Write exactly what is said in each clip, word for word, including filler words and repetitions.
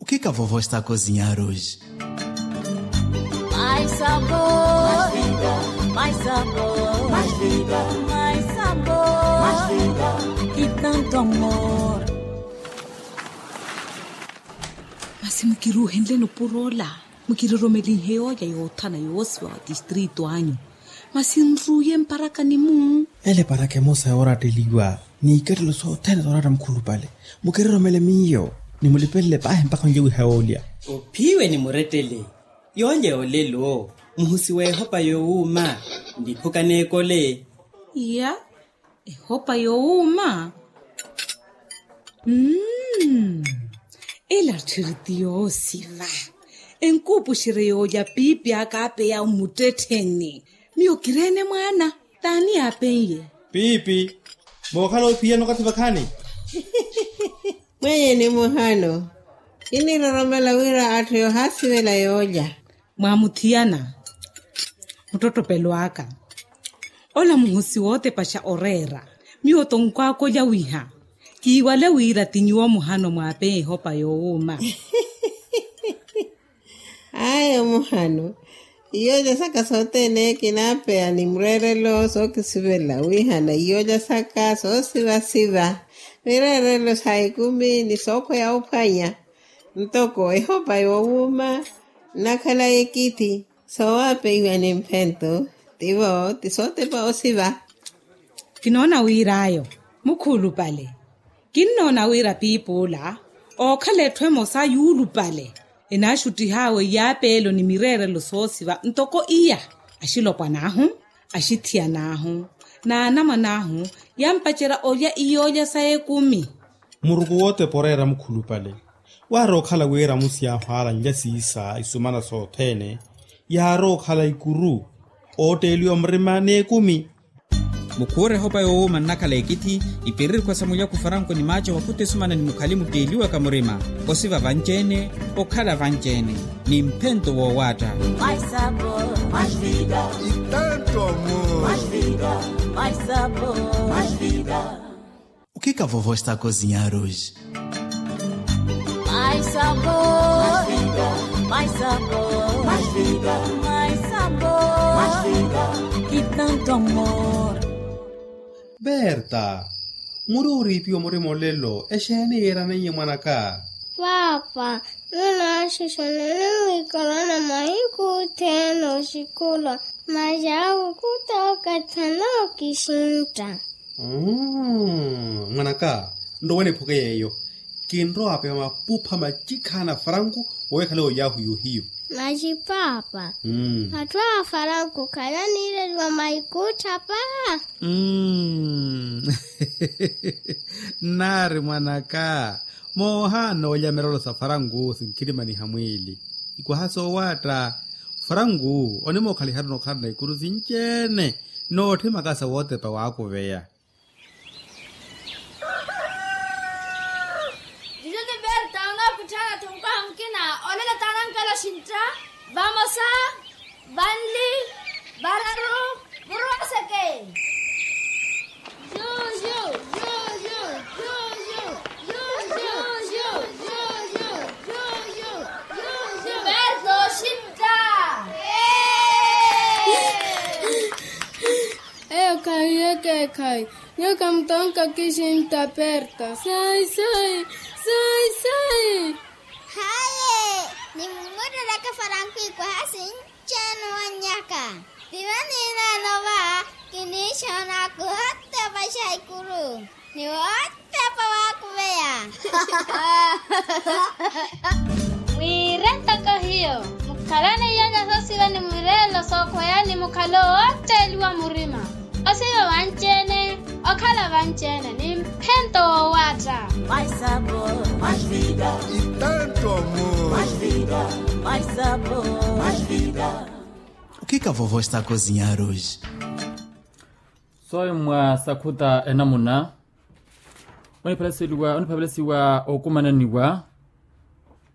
Ukika vovo estako zinyaruji. Mais sabor, mais vida, mais sabor, mais vida, mais sabor, mais vida, e tanto amor. Masi mukiruhenleni opuroola, mukiroromelinhe yooja yoothana yoosiwa wa tistritu anyu. Masi nruuye mparakani-mu. Ele paraka emosa yooratteliwa n'ikattelo sothene zooratta mukhulupale. Mukiroromele miyo, nimulipelele paahi mpakha onlye wiha yoolya. Ophiwe ni murettele. Yoolya yoolelo, muhusi w'ehopa yoowuuma, niphuka n'ekole. Iya, ehopa yoowuuma. Mmm. Ela tthiri ti yoosiva. Enkuupuxerye yoolya piipi aka apeya mmuttettheni. Miyo kireene mwaana. T'ani yaapen'ye? Piipi. Mookhala ophiyana okathi vakhaani? Mwenye ni muhano. Kiniroromela wira atthu yoohaasivela yoolya. Mwaamuthiyana. Muttottopelo aka. Ola muhosi wootepaxa oreera. Miyo tonkwaaka olya wiha. Kiiwale wira ti nyuwo muhano mwaapeya ehopa yoowuuma. Ayo muhano. Iyoolya saka sothene kinaapeya ni mureerelo sookisivela wihana iyoolya saka soosivasiva. Mireerelo sa ekumi ni sookhweya ophwanya. Ntoko ehopa yoowuuma nnakhala ekithi. Soowapeiwa ni mphento. Tivo ti sootepa osiva. Kinoona wir'ayo. Mukhulupale. Kinnoona wira piipi ola ookhala etthu emosa yuulupale. Enaaxuttih'awe iyaapeelo ni mireerelo soosiva ntoko iya. Axilopwan'ahu, axithiyan'ahu, n'anamwan'ahu yampacerya olya iyoolya sa ekumi. Muruku wootepa oreera mukhulupale. Waari okhala wira musi ahwaala nlya siisa isumana sothene. Yaari okhala ikuru ootteeliwa murima n'ekumi. Mukhuure ehopa yoowuuma nnakhala ekithi. Ipiriri khwesa mulyaku faranku ni maaco vakhuta esumana ni mukhali mutteeliwaka murima. Osiva vanci-ene, okhala vanci-ene ni mphento woowaatta. Mais sabor, mais vida. E tanto amor. Mais vida, mais sabor, mais vida. Ukika vovo estako zinyaruji. Mais sabor, mais vida, mais sabor, mais vida, mais sabor, mais vida, e tanto amor. Berta, muri oriipiwa murima olelo exeeni yiiraneiye mwanaka? Paapa, nunaaxixana nimwiikalana mahiku othene oxikhula. Masi awo khuta okathana okixintta. Mwanaka, nrowe niphuke yeeyo. Kinrowa apeya mapupha macikhaana faranku oweekhale oyaahu yohiyo. Masi paapa, atthu a faranku khalaniireliwa maikutthapa. Nnaari mwanaka, moohaana olya mirelo sa faranku sinkirimaniha mwiili. Ikwaha soowaatta. Faranku onimookhalihari onokhalana ikuru sinci-ene. Nootthimaka sa wootepa waakuveya. Juju ti berta onookutthaana ttunkwaha mukina. Olelo taanankela oxintta. Vamosa, vanli, vararu, muruwaseke. Berto oxintta. Eyo khayi yeke ekhayi. Nyoka mutonka kixintta perta. Sai sai, sai sai. Haye, nimumuttereke faranku ikwaha sinci-ene owannyaka. Tivaniinaano va kiniixoona kuhotta opaxa ikuru ni wootepa waakuveya. Mwiire ntoko hiyo, mukhalane iyoonya soosiva ni mwireelo sookhweya ni mukhalo wootteeliwa murima. Osiva vanci-ene, okhala vanci-ene ni mphento woowaatta. Mais sabor, mais vida. E tanto amor. Mais vida, mais sabor, mais vida. Ukika vovo estako zinyaruji. Soyi mwa sakhuta enamuna oniphavelesiwa okumananiwa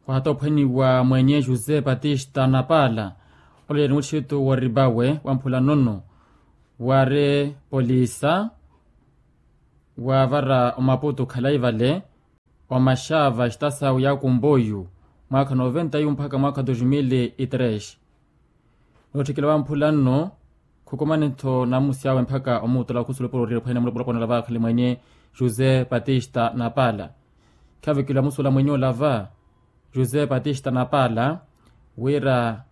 khwahata ophwaniwa mwenye josé batista napaala. Olelo ni mutthitu woripawe wamphula nono wari polisa wavara omaputu khalayi vale. Omaxava xitasawu ya kumboyu Mwaakha noventa yu mpakha mwaakha dos mil e tres. Nootthikela wamphula nno khukumani-tho namusi awe mpakha omuutola khusulupuro oriyela ophwanya mulopona olava akhali mwenye josé batista napala. Khavikela musuula mwenye olava josé batista napala wira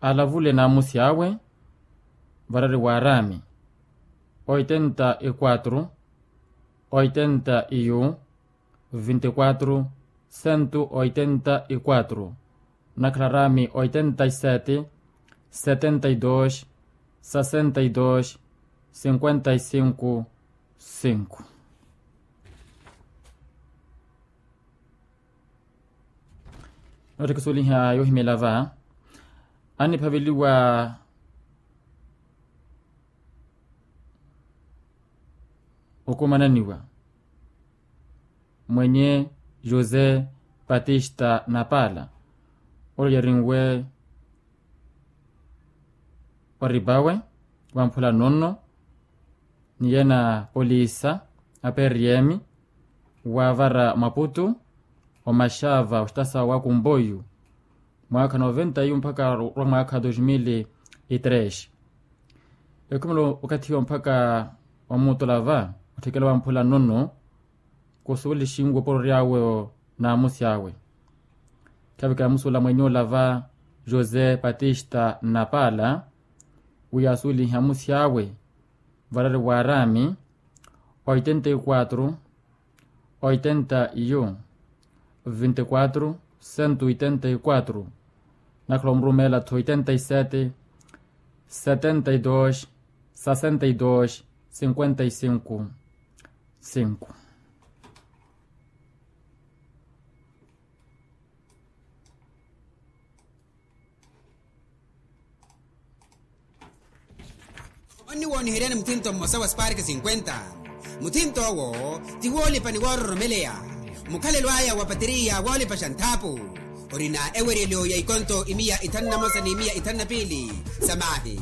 alavule namusi awe varari wa arami oitenta e quatro oitenta e um vinte e quatro cento oitenta e quatro, nakhala arami oitenta e sete setenta e dos sessenta e dos cinquenta e cinco cinco. Nootthikisuweliha yohimela va aniphaveliwa okumananiwa mwenye josé batista napala ole yarinwe oribawe wamphula nonno ni yena polisa a prm wavara maputu omaxava oxitasa wa kumboyu mwaakha noventa yu mpakha orwa mwaakha dos mil e tres. Ekhumelo okathi yo mpakha omuutola va otthikela wamphula nonno kusuwelixinwe oporory'awe namusi awe. Khavikela musuula mwenye olava josé batista napala wi yaasuwelihe amusi awe varari wa arami oitenta e quatro oitenta e um vinte e quatro cento oitenta e quatro. Nakhala omurumela-tho oitenta e sete setenta e dos sessenta e dos cinquenta e cinco cinco. Onniwooniheryani muthinto mmosa wa spark cinquenta. Muthinto owo ti woolipa ni woororomeleya. Mukhalelo aya wa pateriya woolipa xa nthaapu orina eweryelo ya ikonto imiya ithanu na mosa ni imiya ithanu na piili sa maahi.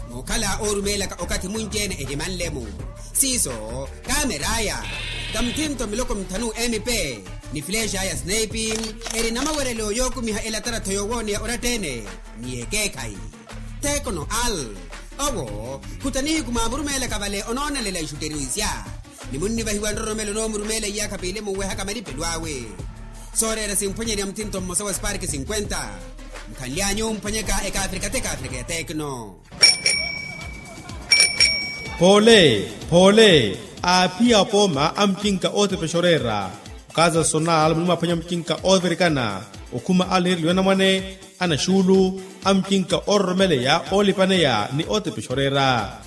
Muukhala oorumeelaka okathi munci-ene ehimanle-mu siiso kameraya ka muthinto miloko mithanu mp ni filexa ya snipe eri na mawerelo yookumiha elatara-tho yoowooneya oratta-ene ni yekeekhayi. Tekono al owo khuta nihiku mwaamurumeelaka vale onoonelela ixutteriwisya ni munnivahiwa nroromelo onoomurumeela iyaakha piili munwehaka malipelo awe. Sooreera simphwanyerya muthinto mmosa wa spark cinquenta. Mukhanly'anyu omphwanyaka ekaafrika t'ekaafrika ya tekno. Poole poole aaphiya apooma a mucinka ootepexa oreera. Okaza sonal muni mwaphwanya mucinka oovirikana okhuma aliniireliwa anamwane anaxuulu a mucinka oororomeleya oolipaneya ni ootepexa oreera.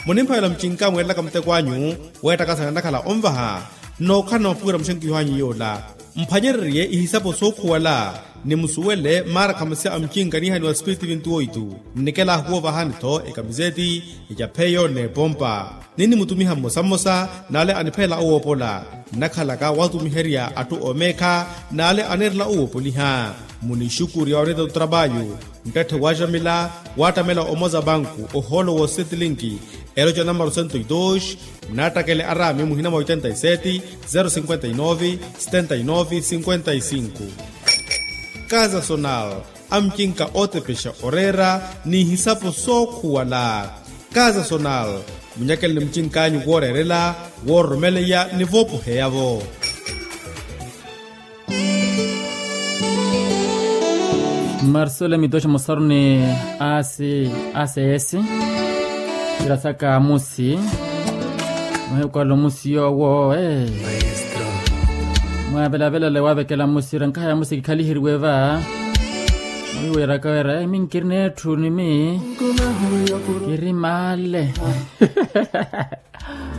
Munimphavela mucinka mweerelaka muteko anyu weettakasana nnakhala onvaha. Nnookhala na mapuwira muxenkiho anyu yoola mphwanyererye ihisapo sookhuwala ni musuwele maara khamasya a mucinka niihaniwa spiritu vinti oitu. Nnikelahu woovahani-tho ekamiseti ecapheyo n'epompa. Ninnimutumiha mmosa mmosa n'ale aniphelela owoopola nnakhalaka watumiherya atthu oomeekha n'ale aneerela owoopoliha. Munixukurya oneeta otrapayu nttatthe waaxamila waattamela omoza banku ohoolo woosetlinki eloca namaro sento e dos. Nnaattakele araami muhina mwa oitenta e sete zero cinquenta e nove setenta e nove cinquenta e cinco. Kaza sonal a mucinka ootepexa oreera n'ihisapo sookhuwala. Kaza sonal munyakele ni mucinkaanyu wooreerela woororomeleya ni voopoheya-vo. Marsole mitoxa mosaruni asi asesi. Tirasaka musi muhikwalo musi yowo e. Mwavelavelale wavekela musi ira nkahaya musi kikhaliheriwe va. Muhiweraka wera emi nkiri n'etthu ni mi kiri male.